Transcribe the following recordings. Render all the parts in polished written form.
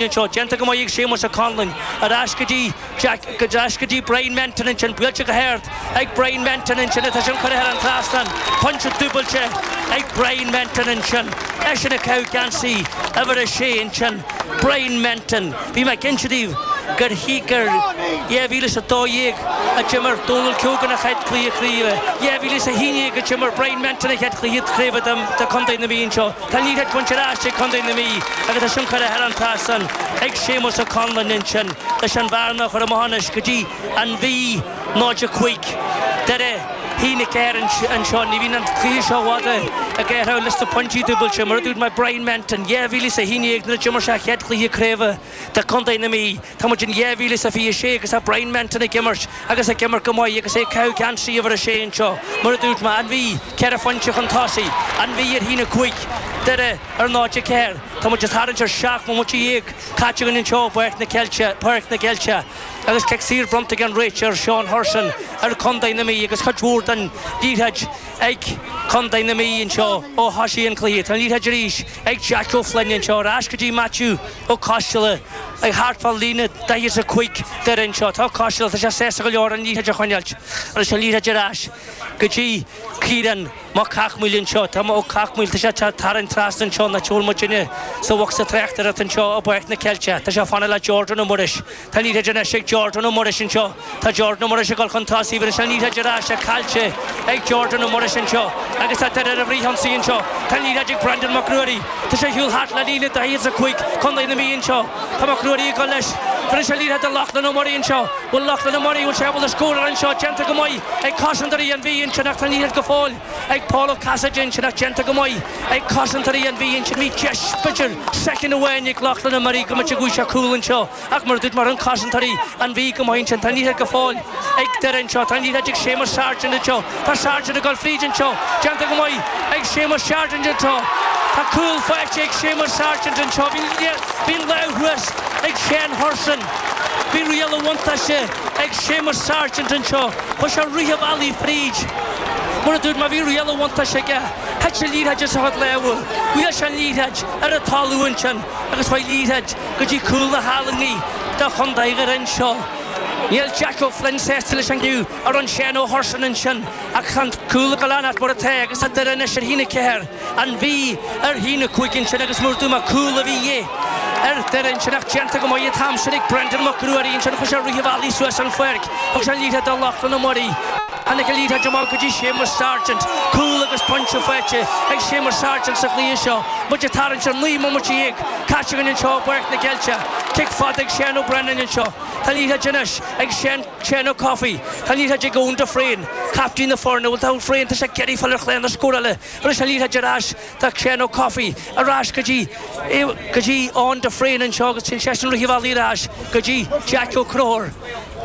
Anseo, déanta go maith ag Séamus Ó Conluain, ar ais go dtí Jack, ar ais go dtí Brian Menton ansin, buailte go hard ag Brian Menton ansin, tá sin curtha thar an trasnán, pointe dúbailte ag Brian Menton ansin, eisean ag caitheamh geansaí uimhir a sé ansin, Brian Menton. Bhí mé ag inse daoibh gur gur 2012 a d'imir Dónal Keogan a chéad chluiche craoibhe, 2011 a d'imir Brian Menton a chéad chluiche craoibhe do Chontae na Mí anseo. Tá an liathróid bainte ar ais ag Contae na Mí agus tá sin curtha thar an trasnán ag Séamus Ó Conluain ansin leis an bhearna a chur amach anois go dtí an Mhí 0-5. Doire 1-4 anseo. Ní bhíonn an cluiche seo i bhfad ag athrú leis na pointí dúbailte. Mar a dúirt mé Brian Menton, 2011 nuair a d'imir sé a chéad chluiche craoibhe do Chontae na Mí. Tá muid in 2026 agus tá Brian Menton ag imirt agus ag imirt go maith agus é ag caitheamh geansaí uimhir a sé anseo. Mar a dúirt mé, an Mhí, ceithre phointe chun tosaigh, an Mhí ar 1-5, Doire ar 0-4. Tá muid ag tarraingt ar 17 bomaite caite againn anseo i bPáirc na Ceilte, Páirc na gCeilteach agus cic saor bronnta ag an réiteoir Seán Hurson ar Chontae na Mí agus cuid mhór den liathróid ag Contae na Mí anseo ó thosaigh an cluiche. Tá an liathróid arís ag Jack O'Flynn anseo ar ais go dtí Matthew Ó Coisteala ag thart fá líne 45 Doire anseo. Tá Ó Coisteala, tá sé sásta go leor an liathróid a choinneáilt agus an liathróid ar ais go dtí Ciarán Mac Cathmhaoil anseo. Tá Ó Cathmhaoil, tá sé ag tarraingt trasna anseo nach bhfuil muidinne sa bhocsa tráchtaireachta anseo i bPáirc na Ceilteach. Tá sé ag fanacht le Jordan Ó Muiris. Tá an liathróid anois ag Jordan Ó Muiris anseo. Tá Jordan Ó Muiris ag dul chun tosaigh. Bhí an liathróid ar ais caillte ag Jordan Ó Muiris anseo agus tá Doire ar an bhfrithionsaí anseo. Tá an liathróid ag Brendan Mac Ruairí. Tá sé ar shiúl thart le líne 45 Contae na Mí anseo. Tá Mac Ruairí ag dul leis. Bhris an liathróid do Lochlann Ó Muirí anseo. Bhfuil Lochlann Ó Muirí, bhfuil sé ábalta scóráil anseo? Déanta go maith ag cosantóirí an Mhí ansin ach tá an liathróid go fóill ag Paul Ó Casaide ansin ach déanta go maith ag cosantóirí an Mhí ansin. Bhí deis, b'fhéidir, soicind amháin ag Lochlann Ó Muirí go mb'fhéidir go bhfuair sé cúl anseo. Ach mar a dúirt mé rinne cosantóirí an Mhí go maith ansin. Tá an liathróid go fóill ag Doire anseo. Tá an liathróid ag Séamus Sargent anseo. Tá Sargent ag dul fríd anseo. Déanta go maith ag Séamus Sargent anseo. Tá cúl faighte ag Séamus Sargent anseo. Bhí an lámh thuas ag Shane Hurson. Bhí riail an bhuntáiste ag Séamus Sargent anseo. Chuaigh sé rith an bhealaigh fríd. Mar a dúirt mé bhí riail an bhuntáiste aige. Thit an liathróid as a chuid lámha. Bhuail sé an liathróid ar an talamh ansin agus chuaigh an liathróid go dtí cúl na hallannaí do Chontae Dhoire anseo. Níl Jack O'Flynn sásta leis an gcinneadh a rinne Shane O'Hurson ansin ach tá an cúl ag dul a fhanacht mar atá agus tá Doire anois ar 1-4, an Mhí ar 1-5 ansin agus mar a dúirt mé cúl a bhí de dhíth ar Doire ansin ach déanta go maith an t-am sin ag Brendan Mac Ruairí ansin chuir sé rith an bhealaigh suas an pháirc thug sé an liathróid do Lochlann Ó Muirí. Tháinig an liathróid amach go dtí Séamus Sargent. Cúl agus pointe faighte ag Séamus Sargent sa chluiche seo. Muid ag tarraingt ar 19 mbomaite caite againn anseo i bPáirc na gCeilteach. Cic fada ag Shane O'Brennan anseo. Tá an liathróid anois ag Shane, Shane Ó Cofaigh. Tá an liathróid ag Eoin de Fréin, captaen na foirne. Bhuel tá Ó Fréin, tá sé ag iarraidh fáil ar chlár na scórála. Anois an liathróid ar ais do Shane Ó Cofaigh. Ar ais go dtí, go dtí Eoin de Fréin anseo agus téann seisean rith an bhealaigh ar ais go dtí Jack Ó Conchúir.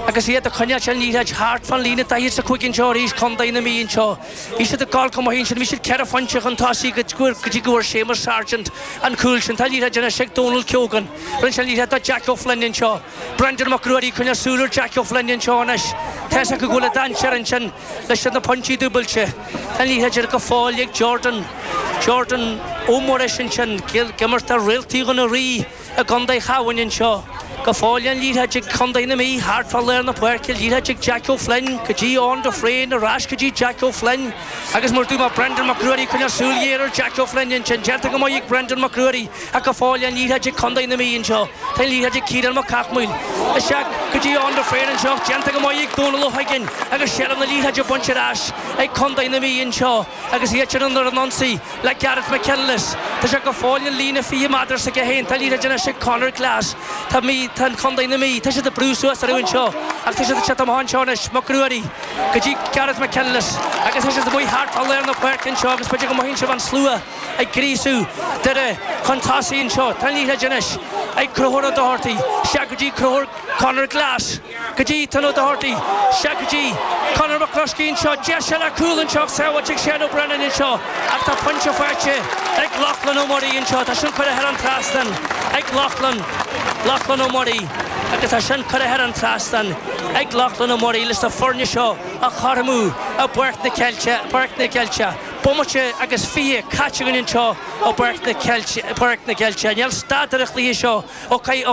Agus iad ag coinneáilt an liathróid thart fán líne 45 anseo arís, Contae na Mí anseo. Bhí siad ag gabháil go maith ansin, bhí siad ceithre phointe chun tosaigh go dtí go bhfuair Séamus Sargent an cúl sin. Tá an liathróid anois ag Dónal Keogan. Rinne sé an liathróid do Jack O'Flynn anseo. Brendan Mac Ruairí ag coinneáil súil ar Jack O'Flynn anseo anois. Tá fhios acu go bhfuil an dainséar ansin leis na pointí dúbailte. Tá an liathróid go fóill ag Jordan, Jordan Ó Muiris ansin, ag imirt do Réaltaí Dhún an Rí. I gContae Chabháin anseo go fóill an liathróid ag Contae na Mí thart fá lár na páirce, liathróid ag Jack O'Flynn go dtí Eoin de Fréin, ar ais go dtí Jack O'Flynn agus mar a dúirt mé Brendan Mac Ruairí ag coinneáil súil ghéar ar Jack O'Flynn ansin. Déanta go maith ag Brendan Mac Ruairí ach go fóill an liathróid ag Contae na Mí anseo. Tá an liathróid ag Ciarán Mac Cathmhaoil. Isteach go dtí Eoin de Fréin anseo ach déanta go maith ag Dónal Ó hUiginn agus seilbh na liathróide bainte ar ais ag Contae na Mí anseo. Agus iad sin ar an ionsaí le Gareth McKinless. Tá sé go fóill an líne 20 méadar s'aige féin. Tá liathróid anois ag Conor Glass. Tá Mí, tá an Contae na Mí, tá siad ag brú suas orthu anseo ach tá siad ag teacht amach anseo anois, Mac Ruairí go dtí Gareth McKinless agus tá siad amuigh thart fá lár na páirce anseo agus b'fhéidir go mothaíonn sibh an slua ag gríosú Doire chun tosaigh anseo. Tá an liathróid anois ag Conchúr Ó Dochartaigh. Isteach go dtí Conchúr Conor Glass. Go dtí Ton Ó Dochartaigh, isteach go dtí Conor McCluskey anseo, deis eile cúl anseo ach sábháilte ag Shane O'Brennan anseo ach tá pointe faighte ag Lochlann Ó Muirí anseo, tá sin curtha thar an trasnán ag Lochlann, Lochlann Ó Muirí agus tá sin curtha thar an trasnán ag Lochlann Ó Muirí leis na foirne seo a chothromú i bPáirc na Ceilteach, Páirc na gCeilteach. Bomaite agus 20 caite againn anseo i bPáirc na Ceilte. Níl stad ar an chluiche seo ó.